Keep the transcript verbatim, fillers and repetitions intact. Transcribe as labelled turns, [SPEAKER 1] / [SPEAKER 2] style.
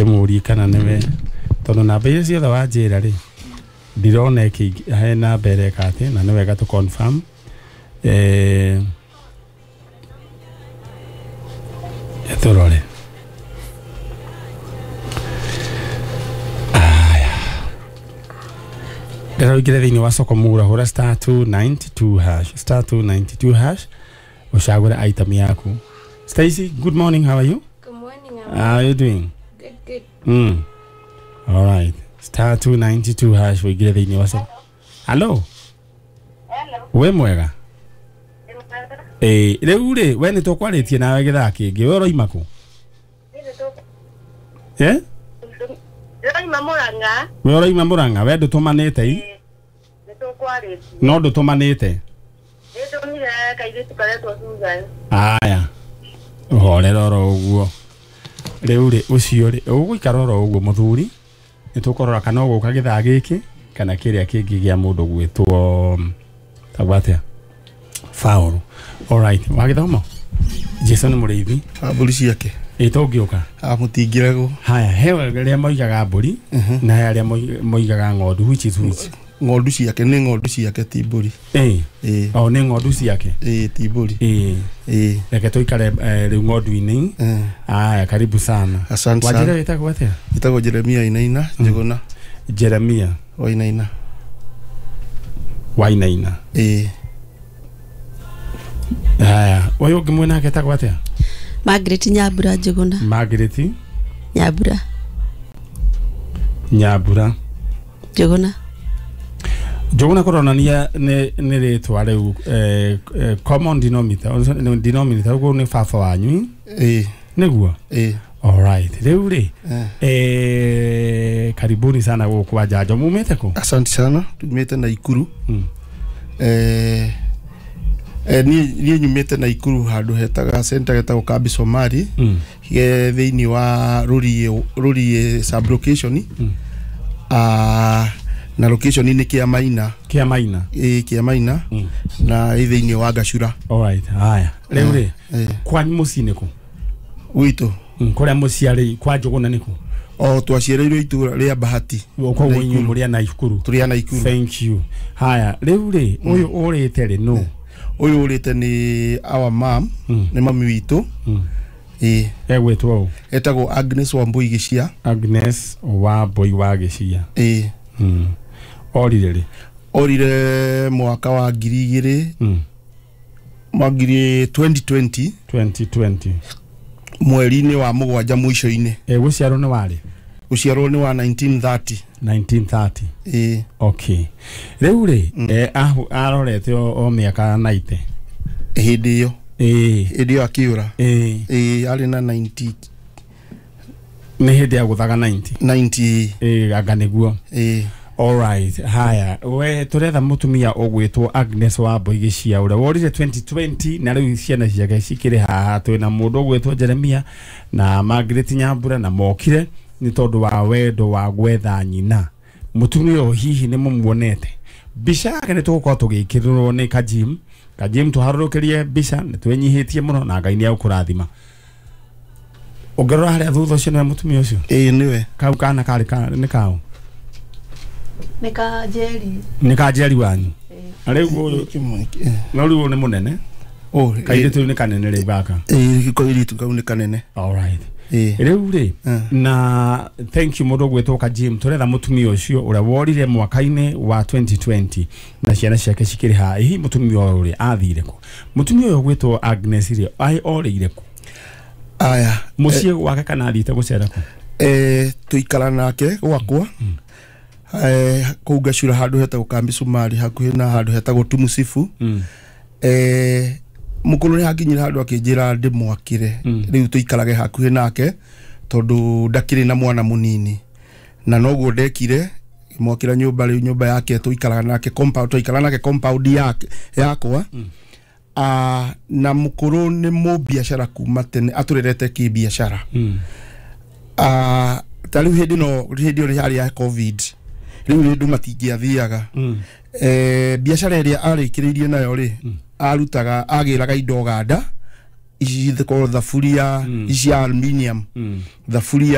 [SPEAKER 1] Ndĩmũrie kana nĩwe, tondũ namba iria ciothe wanjĩra rĩ, ndirona ĩkĩ he namba ĩreka atĩ, na nĩ wega tũ confirm. Eh, tũrore. Aya, ndĩra ũingĩre thĩinĩ wa soko mura, hũra star two ninety two hash, star two ninety two hash, ũcagũre item yaku. Stacy, good morning, how are you?
[SPEAKER 2] Good morning. I'm
[SPEAKER 1] How are you doing?
[SPEAKER 2] Good, good.
[SPEAKER 1] Mm. All right. Star two ninety two hash, ũingĩre thĩinĩ wa soko. Hello.
[SPEAKER 3] Hello.
[SPEAKER 1] We mwega? Eh, rĩu rĩ, we nĩ tũkwarĩtie nawe gĩthaa kĩngĩ, we ũroima kũ? Eh?
[SPEAKER 3] Ndĩroima Mũrang'a.
[SPEAKER 1] We ũroima Mũrang'a, we ndũtũmanĩte i?
[SPEAKER 3] Nĩ tũkwarĩtie.
[SPEAKER 1] No ndũtũmanĩte?
[SPEAKER 3] Nĩndũmire kairĩtu karetwo Susan.
[SPEAKER 1] Aya. Ũhorera oro ũguo. Rĩu rĩ, ũcio rĩ, ũgũikara oro ũguo mũthuri, nĩ tũkũrora kana ũgũka gĩthaa gĩkĩ kana kĩrĩa kĩngĩ gĩa mũndũ gwĩtwo tagwo atĩa? Faulu. All right, wagĩthoma? Jesu nĩ mũrĩithi.
[SPEAKER 4] Mbũri ciake.
[SPEAKER 1] Ĩ tũngĩũka?
[SPEAKER 4] Mũtingĩregwo.
[SPEAKER 1] Haya, he arĩa moigaga mbũri na he arĩa moigaga ng'ondu, which is which?
[SPEAKER 4] Ng'ondu ciake, nĩ ng'ondu ciake ti mbũri.
[SPEAKER 1] Ĩ. O nĩ ng'ondu ciake?
[SPEAKER 4] Ĩ, ti mbũri.
[SPEAKER 1] Ĩ.
[SPEAKER 4] Ĩ.
[SPEAKER 1] Reke tũikare rĩu ng'ondu-inĩ. Haya, karibu sana.
[SPEAKER 4] Asante sana.
[SPEAKER 1] Wanjĩra wĩtagwo atĩa?
[SPEAKER 4] Wĩtagwo Jeremia Wainaina Njũgũna.
[SPEAKER 1] Jeremia
[SPEAKER 4] Wainaina.
[SPEAKER 1] Wainaina.
[SPEAKER 4] Ĩ.
[SPEAKER 1] Haya, ũyũ ũngĩ mwena ake etagwo atĩa?
[SPEAKER 5] Margaret Nyambura Njũgũna.
[SPEAKER 1] Margaret
[SPEAKER 5] Nyambura.
[SPEAKER 1] Nyambura
[SPEAKER 5] Njũgũna.
[SPEAKER 1] Njũgũna kũronania nĩ nĩ rĩtwa rĩu eh, eh, common denominator, denominator ũguo nĩ baba wanyu.
[SPEAKER 4] Ĩ.
[SPEAKER 1] Nĩguo?
[SPEAKER 4] Ĩ.
[SPEAKER 1] All right. Rĩu rĩ, eh, karibuni sana gũkũ kwa Njanjo. Mumĩte kũ?
[SPEAKER 4] Asante sana, tumĩte Naikuru.
[SPEAKER 1] Mm.
[SPEAKER 4] Eh, eh, niĩ nyumĩte Naikuru handũ hetaga center getagwo Kambi Somali.
[SPEAKER 1] Mm.
[SPEAKER 4] Ge thĩinĩ wa Rũriĩ, Rũriĩ sub location.
[SPEAKER 1] Mm.
[SPEAKER 4] Ah, na location nĩ Kĩamaina.
[SPEAKER 1] Kĩamaina.
[SPEAKER 4] Ĩ, Kĩamaina.
[SPEAKER 1] Mm.
[SPEAKER 4] Na ĩ thĩinĩ wa Gacura.
[SPEAKER 1] All right. Haya. Rĩu rĩ,
[SPEAKER 4] Eh.
[SPEAKER 1] kwanyu mũciĩ nĩ kũ?
[SPEAKER 4] Gwitũ.
[SPEAKER 1] Mm, kũrĩa mũciarĩ kwa Njũgũna nĩ kũ?
[SPEAKER 4] O twaciarĩirwo itũũra rĩa Bahati.
[SPEAKER 1] Koguo inyuĩ mũrĩ a Naikuru.
[SPEAKER 4] Tũrĩ a Naikuru.
[SPEAKER 1] Thank you. Haya, rĩu rĩ, ũyũ ũrĩte rĩ nũ?
[SPEAKER 4] Ũyũ ũrĩte nĩ our mom, nĩ mami witũ.
[SPEAKER 1] Mm.
[SPEAKER 4] Ĩ.
[SPEAKER 1] Egwĩtwo ũ?
[SPEAKER 4] Etagwo Agnes Wambui Gĩcia.
[SPEAKER 1] Agnes Wambui wa Gĩcia.
[SPEAKER 4] Ĩ.
[SPEAKER 1] Mm. Orire rĩ?
[SPEAKER 4] Orire mwaka wa ngiri igĩrĩ.
[SPEAKER 1] Mm.
[SPEAKER 4] Mwaka ngiri twenty twenty.
[SPEAKER 1] twenty twenty.
[SPEAKER 4] Mweri-inĩ wa mũgwanja mũico-inĩ.
[SPEAKER 1] Ĩ, gũciarwo nĩ warĩ?
[SPEAKER 4] Gũciarwo nĩ wa nineteen thirty.
[SPEAKER 1] nineteen thirty.
[SPEAKER 4] Ĩ.
[SPEAKER 1] Okay. Rĩu rĩ, eh, arorete o mĩaka ninety.
[SPEAKER 4] Hĩndĩ ĩyo.
[SPEAKER 1] Ĩ.
[SPEAKER 4] Hĩndĩ ĩyo akĩũra.
[SPEAKER 1] Ĩ.
[SPEAKER 4] Ĩ, arĩ na ninety.
[SPEAKER 1] Nĩ hĩndĩ ya gũthaga ninety.
[SPEAKER 4] ninety.
[SPEAKER 1] Ĩ, anga nĩguo.
[SPEAKER 4] Ĩ.
[SPEAKER 1] All right. Haya, we tũretha mũtumia ũgwĩtwo Agnes Wambui Gĩcia ũrĩa worire twenty twenty na rĩu ciana ciake cikĩrĩ haha. Twĩna mũndũ ũgwĩtwo Jeremia na Margaret Nyambura na mokire nĩ tondũ wa wendo wa gwetha nyina. Mũtumia ũyũ hihi nĩ mũmuonete? Mbica yake nĩ tũgũkorwo tũgĩkĩrĩrwo nĩ Kajim. Kajim tũharũrũkĩrie mbica, nĩ twĩnyihĩtie mũno na Ngai nĩ egũkũrathima. Ũngĩrora harĩa thutha ũcio nĩwe mũtumia ũcio?
[SPEAKER 4] Ĩ, nĩwe.
[SPEAKER 1] Kau kana karĩ ka, nĩ kaũ?
[SPEAKER 5] Nĩ ka Njeri.
[SPEAKER 1] Nĩ ka Njeri wanyu? Na rĩu ũyũ, no rĩu ũyũ nĩ mũnene?
[SPEAKER 4] Oh,
[SPEAKER 1] kairĩtu rĩu nĩ kanene rĩu gaka.
[SPEAKER 4] Ĩ, kairĩtu kau nĩ kanene.
[SPEAKER 1] All right.
[SPEAKER 4] Ĩ.
[SPEAKER 1] Rĩu rĩ, na thank you mũndũ ũgwĩtwo Kajim, tũretha mũtumia ũcio ũrĩa worire mwaka-inĩ wa twenty twenty na ciana ciake cikĩrĩ haha. Hihi mũtumia ũyũ rĩ athire kũ? Mũtumia ũyũ ũgwĩtwo Agnes rĩ, orĩire kũ?
[SPEAKER 4] Aya,
[SPEAKER 1] Mũciĩ gwake kana athiĩte gũcera kũ?
[SPEAKER 4] Eh, tũikara nake gwakwa. Eh, kũu Gacura handũ hetagwo Kambi Somali hakuhĩ na handũ hetagwo Tumusifu.
[SPEAKER 1] Mm.
[SPEAKER 4] Eh, mũkũrũ nĩ hakinyire handũ akĩnjĩra ndĩmwakĩre. Rĩu tũikarage hakuhĩ nake tondũ ndakĩrĩ na mwana mũnini. Na noguo ndekire, ngĩmwakĩra nyũmba rĩu nyũmba yake tũikaraga nake compound, tũikaraga nake compound yake yakwa. Ah, na mũkũrũ nĩ mũbiacara kuma tene, atũrerete kĩbiacara.
[SPEAKER 1] Mm.
[SPEAKER 4] Ah, ta rĩu hĩndĩ no hĩndĩ ĩyo yarĩ ya COVID. Rĩu andũ matingĩathiaga.
[SPEAKER 1] Mm.
[SPEAKER 4] Eh, biacara ĩrĩa arĩkĩrĩirie nayo rĩ, arutaga agĩraga indo Uganda, ici cikorwo thaburia, ici cia aluminium,
[SPEAKER 1] Mm.
[SPEAKER 4] thaburia